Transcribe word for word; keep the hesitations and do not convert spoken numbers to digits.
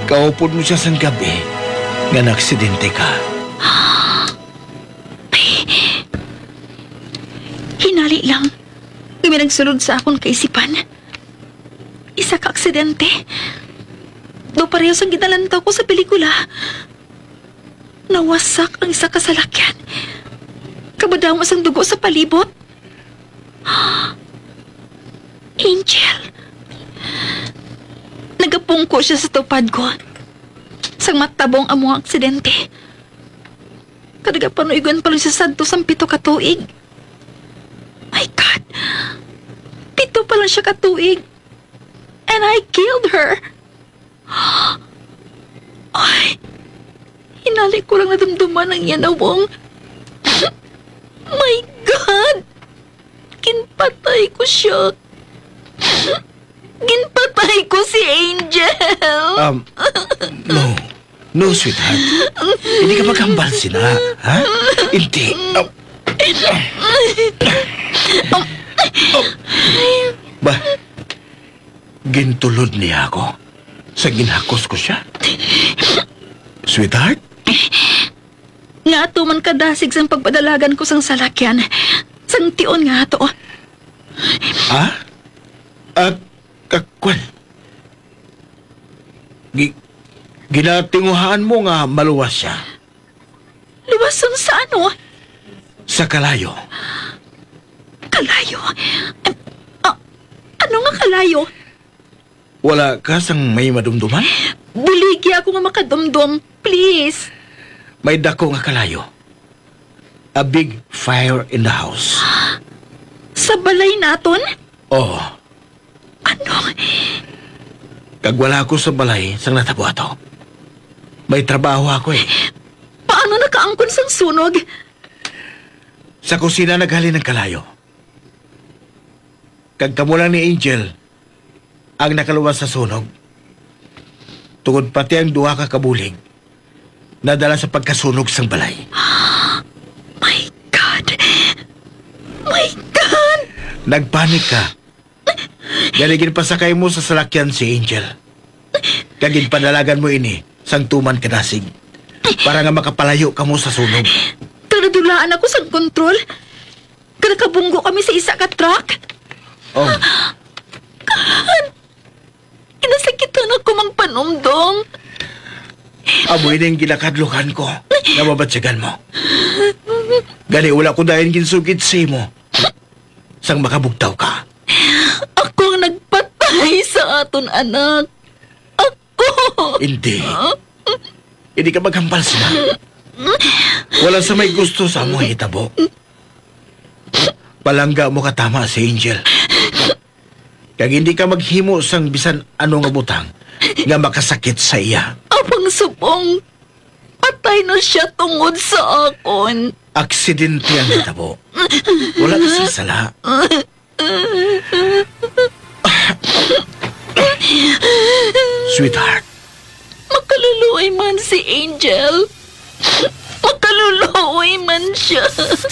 Kaupod mo siya sang gab-i nga naaksidente ka. Hinali lang, may nagsulod sa akon kaisipan. Isa ka aksidente. Daw pareho sang ginalantaw ko sa pelikula. Nawasak ang isa ka salakyan. Kabadamo sang dugo sa palibot. Angel. Nagapungko siya sa tupad ko. Sang matabong amo ang aksidente. Kag nagapanuigon pa lang siya sadto sang pito ka tuig. My God! Pito pa lang siya ka tuig. And I killed her. Ay, hinali ko lang nadumduman ang iya nawong. My God! Ginpatay ko siya. Ginpatay ko si Angel. Um, no. No, sweetheart. Hindi ka maghambal sina, ha? Hindi. Um, um, ba, gintulod niya ako sa ginhakos ko siya. Sweetheart? Nga ato man kadasig sang pagpadalagan ko sang salakyan, sang tion nga ato. Ha? Ah, kakwan. Gi-, ginatinguhaan mo nga maluwas siya. Luwason sa ano? Sa kalayo. Kalayo? Em, ah, ano nga kalayo? Wala ka sang may madumduman? Buligi ako nga makadumdom, please. May dako nga kalayo. A big fire in the house. Sa balay naton? Oo. Ano? Kag wala ako sa balay sang natabo ato. May trabaho ako eh. Paano nakaangkon sang sunog? Sa kusina naghalin ang kalayo. Kag kamo lang ni Angel ang nakaluwas sa sunog. Tungod pati ang duha ka kabulig nadala sa pagkasunog sang balay. My God! My God! Nagpanik ka. Gani ginpasakay mo sa salakyan si Angel. Kag ginpadalagan mo ini sang tuman ka dasig para nga makapalayo kamo sa sunog. Kag nadulaan ako sang kontrol. Kag nakabunggo kami sa isa ka truck. Oh. Kinasakitan ako, Mang Panumdom. Amo ini ang ginakadlukan ko nga mabatyagan mo. Gani wala ko dayon ginsugid sa imo sang makabugtaw ka. Ako ang nagpatay sa aton anak. Ako! Hindi. Hindi ka maghambal sina. Wala sa may gusto sa among hitabo. Palangga mo katama si Angel. Kag hindi ka maghimo sang bisan ano nga butang nga makasakit sa iya. Amang subong, patay na siya tungod sa akon. Aksidente ang hitabo. Wala ka sing sala. Sweetheart. Makaluluoy man si Angel. Makaluluoy man siya.